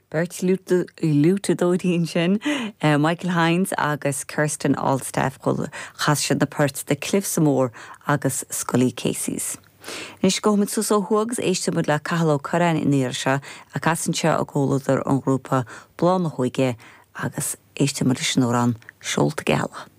Beirt fhliúiteadóirí ansin, Michael Hynes agus Kirsten Altstaff, chas siad na poirt The Cliffs O'Moore agus Scully Casey's. Anois gabhfaidh muid suas ó thuaidh agus éistfidh muid le Cathal Ó Curráin an iarraidh seo, ach anseo i gcomhluadar an ghrúpa Bláth na hÓige agus éistfidh muid leis an amhrán Seolta Geala.